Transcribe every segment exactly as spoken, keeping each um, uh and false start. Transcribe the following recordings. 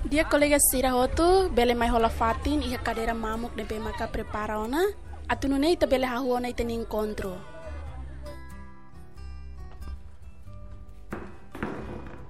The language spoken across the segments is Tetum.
Di'ak kolega sira hotu, bele mai hola fatin iha kadeira mamuk ne'ebé maka prepara ona, atu nune'e ita bele hahú ona ita-nia enkontru.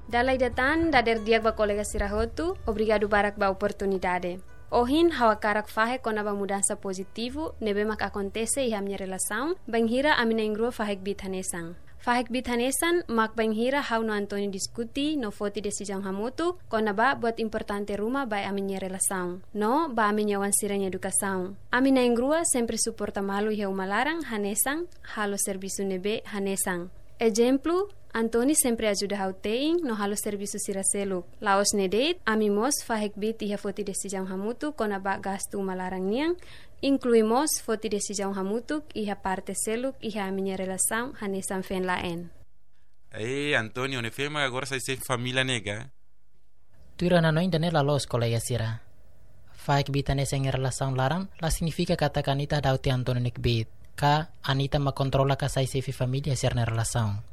Dala ida tan, dader di'ak ba kolega sira hotu, obrigadu barak ba oportunidade. Ohin, ha'u hakarak fahe kona-ba mudansa pozitivu ne'ebé mak akontese iha ami-nia relasaun, bainhira ami na'in-rua fahe kbiit hanesan. Fahe kbiit hanesan mak bainhira ha'u no António diskute no foti desizaun hamutuk kona-ba buat importante ruma ba ami-nia relasaun no ba ami-nia oan sira-nia edukasaun. Ami na'in-rua sempre suporta malu iha uma laran hanesan halo servisu ne'ebé hanesan. Ezemplu, António sempre ajuda ha'u te'in no halo servisu sira seluk. La'ós ne'e de'it, ami mós fahe kbiit iha foti desizaun hamutuk kona-ba gastu uma laran nian, inklui mós foti desizaun hamutuk iha parte seluk iha ami-nia relasaun hanesan feen-la'en. Eh, António, ne'e fema agora sai xefe família ne'e ka? Tuir ha'u hanoin ida-ne'e la loos, kolega sira. Fahe kbiit hanesan iha relasaun laran la signifika katak Anita dauti António nia kbiit, ka Anita mak kontrola ka sai xefe família sira-nia relasaun.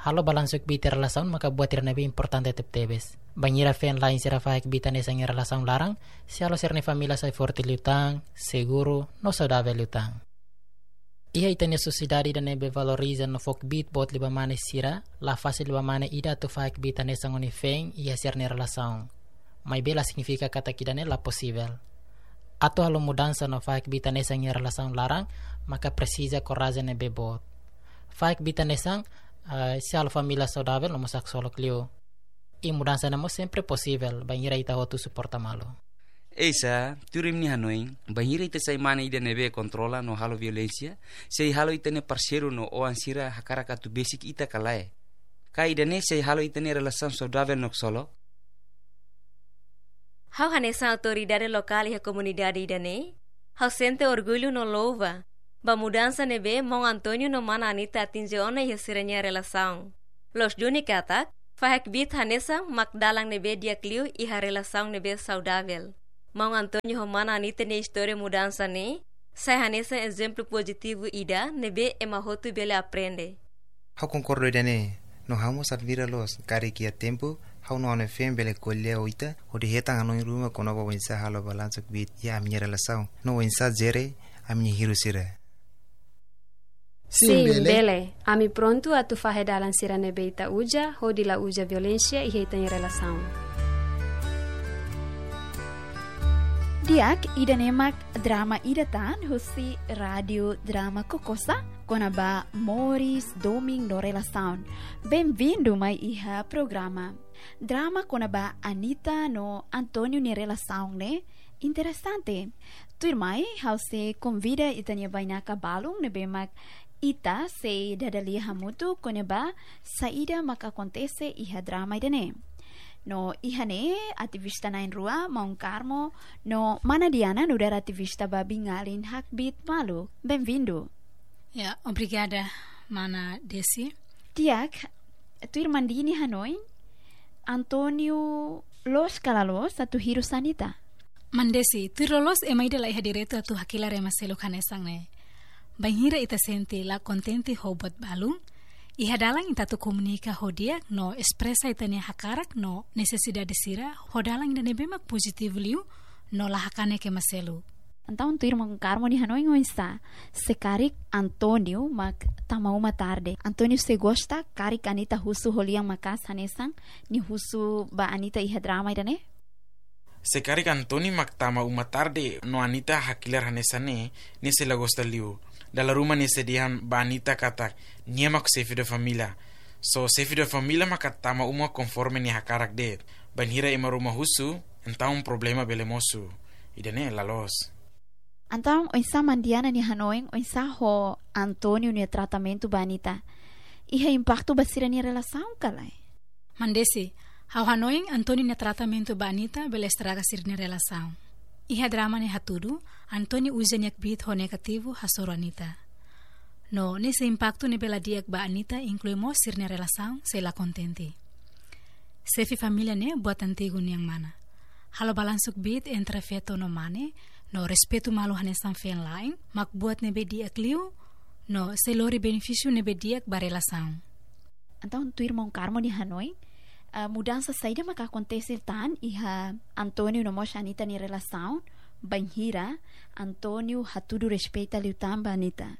Halo balansu kbiit iha relasaun maka buat ida ne'ebé importante tebetebes. Bainhira feen-la'en sira fahe kbiit hanesan iha relasaun laran, sei halo sira-nia família sai forte liután, seguru, no saudavel liután. Iha ita-nia sosiedade ida ne'ebé valoriza no fó kbiit boot liu ba mane sira, la fasil liu ba mane ida atu fahe kbiit hanesan ho nia feen iha sira-nia relasaun. Maibé la signifika katak ida-ne'e la posivel. Atu halo mudansa no fahe kbiit hanesan iha relasaun laran, maka presiza korajen ne'ebé boot. Fahe kbiit hanesan, eh, sei halo família saudavel no mós haksolok liu. I mudansa ne'e mós sempre posivel, bainhira ita hotu suporta malu. Oinsá, tuir imi-nia hanoin, bainhira ita sai mane ida ne'ebé kontrola no halo violénsia, sei halo ita-nia parseiru no oan sira hakarak atu besik ita ka lae? Ka ida-ne'e sei halo ita-nia relasaun saudavel no haksolok? Ha'u hanesan autoridade lokál iha komunidade ida-ne'e, ha'u sente orgullu no louva ba mudansa ne'ebé maun António no mana Anita atinje ona iha sira-nia relasaun. Loos duni katak, fahe kbiit hanesan mak dalan ne'ebé di'ak liu iha relasaun ne'ebé saudavel. Maun António ho mana Anita nia istória mudansa ne'e sai hanesan ezemplu pozitivu ida ne'ebé ema hotu bele aprende. Ha'u konkorda ida-ne'e, no ha'u mós admira loos, karik iha tempu ha'u no ha'u-nia feen bele ko'alia ho ita, hodi hetan hanoin ruma kona-ba oinsá halo balansu kbiit iha ami-nia relasaun, no oinsá jere ami-nia hirus sira. Sin, sin, bele. Bele. Ami prontu atu fahe dalan sira ne'ebé ita uza, hodi la uza violénsia iha ita-nia relasaun. Di'ak, ida-ne'e mak drama ida tan husi Rádio Drama Kokosa, kona-ba moris, domin no relasaun. Benvindu mai iha programa. Drama kona-ba Anita no António nia relasaun ne'e interesante. Tuirmai, ha'u sei konvida ita-nia bainaka balun ne'ebé mak ita sei dada lia hamutuk kona-ba saida mak akontese iha drama ida-ne'e. No iha ne'e ativista na'in-rua, maun Carmo no mana Diana, nu'udar ativista ba biin-alin hakbiit malu. Benvindu. Ya, obrigada, mana Desi. Di'ak, tuir maun Dini hanoin, António loos ka la loos atu hirus Anita? Maun Desi, tuir loloos ema ida la iha direitu atu hakilar ema seluk hanesan ne'e. Bainhira ita sente la kontente ho buat balun, iha dalan ita atu komunika ho di'ak no espresa ita-nia hakarak no nesesidade sira ho dalan ida ne'ebé mak pozitivu liu no la hakanek ema seluk. Entaun tuir maun Carmo nia hanoin oinsá, se karik António mak tama uma tarde, António sei gosta karik Anita husu ho lian maka'as hanesan nia husu ba Anita iha drama ida-ne'e? Se karik António mak tama uma tarde no Anita hakilar hanesan ne'e, nia sei la gosta liu. Dala ruma nia sei dehan ba Anita katak nia mak xefe de família. Só xefe de família maka tama uma konforme nia hakarak de'it. Bainhira ema ruma husu, entaun problema bele mosu. Ida-ne'e la loos. Entaun, oinsá maun Diana nia hanoin, oinsá ho António nia tratamentu ba Anita? Iha impaktu ba sira-nia relasaun ka lae? Maun Desi, ha'u hanoin António nia tratamentu ba Anita bele estraga sira-nia relasaun. Iha drama ne'e hatudu, António uza nia kbiit ho negativu hasoru Anita. No, ne'e sei impaktu ne'ebé la di'ak ba Anita, inklui mós sira-nia relasaun sei la kontente. Xefe família ne'e buat antigu nian mana. Halo balansu kbiit entre feto no mane, no respeitu malu hanesan feen-la'en, mak buat ne'ebé di'ak liu, no sei lori benefísiu ne'ebé di'ak ba relasaun. Entaun, tuir maun Carmo nia hanoin, Ah, mudansa saida maka akontese tan iha António no mós Anita nia relasaun, bainhira António hatudu respeita liután ba Anita?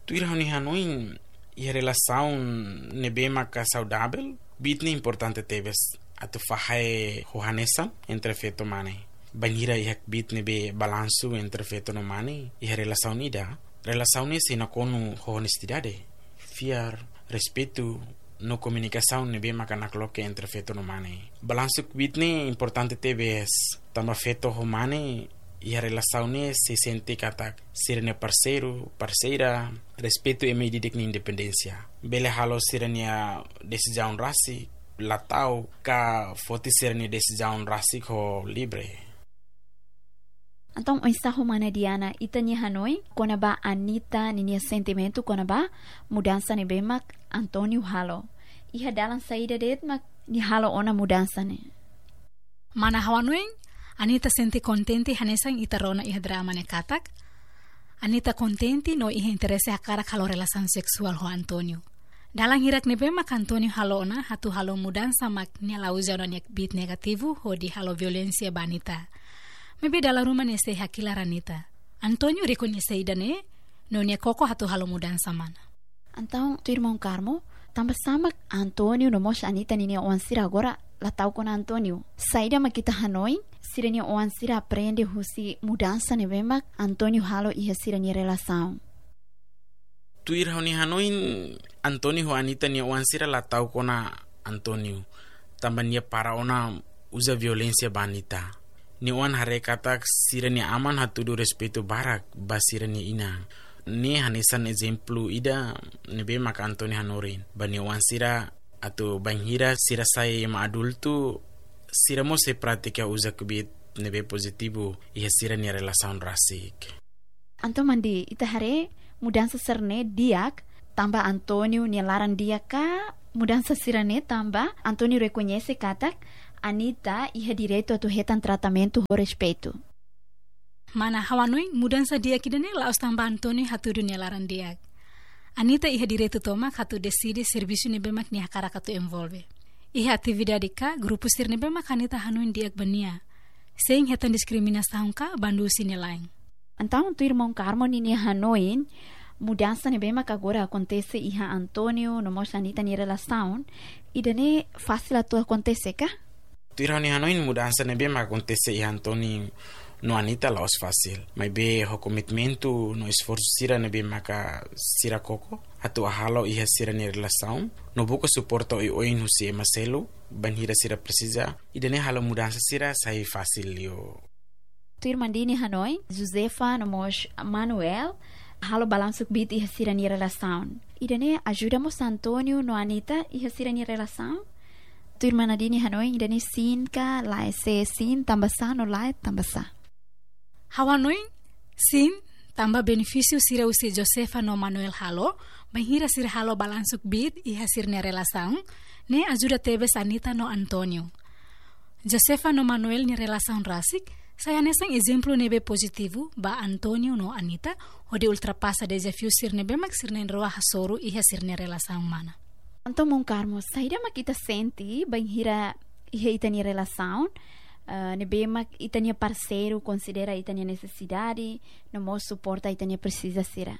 Tuir ha'u-nia hanoin, iha relasaun ne'ebé maka saudavel, kbiit ne'e importante tebes atu fahe ho hanesan entre feto mane. Bainhira iha kbiit ne'ebé balansu entre feto no mane iha relasaun ida, relasaun ne'e sei nakonu ho onestidade, fiar, respeitu, no komunikasaun ne'ebé maka nakloke entre feto no mane. Balansu kbiit ne'e importante tebes, tanba feto ho mane iha relasaun ne'e sei sente katak sira-nia parseiru, parseira, respeitu ema ida-idak nia independénsia. Bele halo sira-nia desizaun rasik, la ta'uk, ka foti sira-nia desizaun rasik ho livre. Entaun, oinsá ho mana Diana, ita-nia hanoin kona-ba Anita ninia sentimentu kona-ba mudansa ne'ebé mak António halo? Iha dalan saida de'it mak nia halo ona mudansa ne'e? Mana ha'u hanoin, Anita sente kontente hanesan ita rona iha drama ne'e katak Anita kontente no iha interese hakarak halo relasaun seksuál ho António. Dalan hirak ne'ebé mak António halo ona atu halo mudansa mak nia la uza ona nia kbiit negativu hodi halo violénsia ba Anita. Maibé dala ruma nia sei hakilar Anita. António rekoñese ida-ne'e, no nia koko atu halo mudansa mana. Entaun, tuir maun Carmo, tanbasá mak António no mós Anita ninia oan sira agora la ta'uk ona António? Saida mak ita hanoin, sira-nia oan sira aprende husi mudansa ne'ebé mak António halo iha sira-nia relasaun? Tuir ha'u-nia hanoin, António ho Anita nia oan sira la ta'uk ona António, tanba nia para ona uza violénsia ba Anita. Nia oan haree katak sira-nia aman hatudu respeitu barak ba sira-nia inan. Ne'e hanesan ezemplu ida ne'ebé maka António hanorin ba nia oan sira atu bainhira sira sai ema adultu, sira mós sei pratika uza kbiit ne'ebé pozitivu iha sira-nia relasaun rasik. Entaun, Mandi, ita haree mudansa sira-ne'e di'ak tanba António nia laran di'ak ka mudansa sira-ne'e tanba António rekoñese katak Anita iha direitu atu hetan tratamentu ho respeitu? Mana ha'u hanoin, mudansa di'ak ida-ne'e la'ós tanba António hatudu nia laran di'ak. Anita iha direitu tomak atu deside servisu ne'ebé mak nia hakarak atu envolve iha atividade ka grupu sira ne'ebé mak Anita hanoin di'ak ba nia, sein hetan diskriminasaun ka bandu husi nia la'en. Entaun, tuir maun Carmo ninia hanoin, mudansa ne'ebé mak agora akontese iha António no mós Anita nia relasaun, ida-ne'e fasil atu akontese ka? Tuir ha'u-nia hanoin, mudansa ne'ebé mak akontese iha António no Anita la'ós fasil. Maibé ho komitmentu no esforsu sira ne'ebé maka sira koko atu halo iha sira-nia relasaun, no buka suporta oioin husi ema seluk bainhira sira presiza, ida-ne'e halo mudansa sira sai fasil liu. Tuir Mandi nia hanoin, Josefa no mós Manuel halo balansu kbiit iha sira-nia relasaun. Ida-ne'e ajuda mós António no Anita iha sira-nia relasaun? Tuir mana Mandi nia hanoin, ida-ne'e sin ka lae? Se sin, tanbasá, no lae, tanbasá? Ha'u hanoin, sin, tanba benefísiu sira husi Josefa no Manuel halo, bainhira sira halo balansu kbiit iha sira-nia relasaun, ne'e ajuda tebes Anita no António. Josefa no Manuel nia relasaun rasik sai hanesan ezemplu ne'ebé pozitivu ba António no Anita, hodi ultrapasa dezafiu sira ne'ebé mak sira na'in-rua hasoru iha sira-nia relasaun mana. Entaun, maun Carmo, saida mak ita sente bainhira iha ita-nia relasaun, eh, ne'ebé mak ita-nia parseiru konsidera ita-nia nesesidade, no mós suporta ita-nia presiza sira?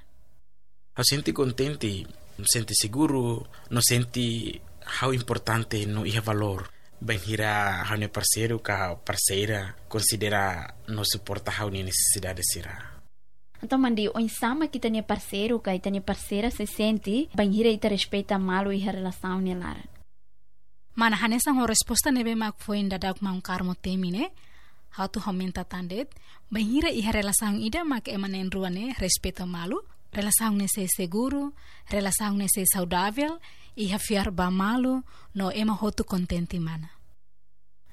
Ha'u sente kontente, sente seguru, no sente ha'u importante no iha valór bainhira ha'u-nia parseiru ka parseira konsidera no suporta ha'u-nia nesesidade sira. Entaun, Mandi, oinsá mak ita-nia parseiru ka ita-nia parseira sei sente bainhira ita respeita malu iha relasaun nia laran? Mana, hanesan ho resposta ne'ebé mak foin daudauk maun Carmo temi ne'e, ha'u atu aumenta tan de'it, bainhira iha relasaun ida mak ema na'in-rua ne'e respeita malu, relasaun ne'e sei seguru, relasaun ne'e sei saudavel, iha fiar ba malu, no ema hotu kontente mana.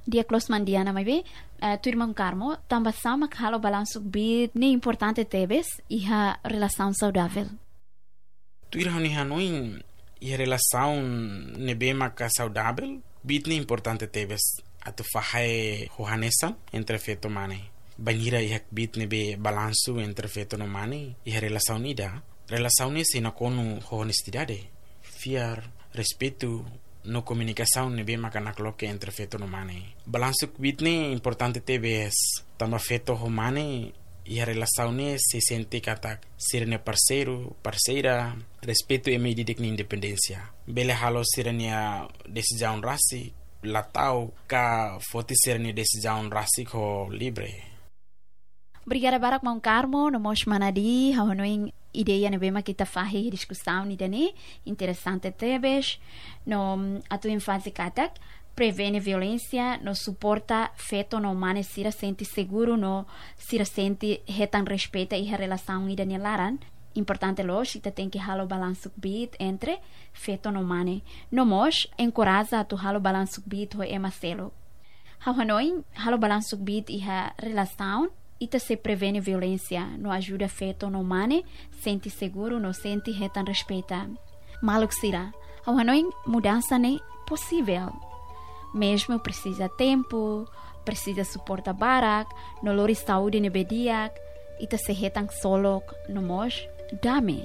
Di'ak loos mana Diana, maibé, eh, tuir maun Carmo, tanbasá mak halo balansu kbiit ne'e importante tebes iha relasaun saudavel? Tuir ha'u-nia hanoin, iha relasaun ne'ebé maka saudavel, kbiit ne'e importante tebes atu fahe ho hanesan entre feto mane. Bainhira iha kbiit ne'ebé balansu entre feto no mane iha relasaun ida, relasaun ne'e sei nakonu ho onestidade, fiar, respeitu, no komunikasaun ne'ebé maka nakloke entre feto no mane. Balansu kbiit ne'e importante tebes, tanba feto ho mane iha relasaun ne'e sei sente katak sira-nia parseiru, parseira, respeitu ema ida-idak nia independénsia. Bele halo sira-nia desizaun rasik, la ta'uk, ka foti sira-nia desizaun rasik ho livre. Obrigada barak maun Carmo, no mós mana Di, ha'u hanoin ideia ne'ebé mak ita fahe diskusaun ida-ne'e, interesante tebes, no atu enfátiza katak, prevene violénsia, no suporta feto no mane sira sente seguru, no sira sente hetan respeita iha relasaun ida-ne'e laran. Importante loos, ita tenke halo balansu kbiit entre feto no mane. No mós, enkoraja atu halo balansu kbiit ho ema seluk. Ha'u hanoin, halo balansu kbiit iha relasaun, ita sei prevene violénsia, no ajuda feto no mane, sente seguru, no sente hetan respeita. Maluk sira, ha'u hanoin mudansa ne'e posivel. Mezmu presiza tempu, presiza suporta barak, no lori saúde ne'ebé di'ak, ita sei hetan ksolok, no mós dame.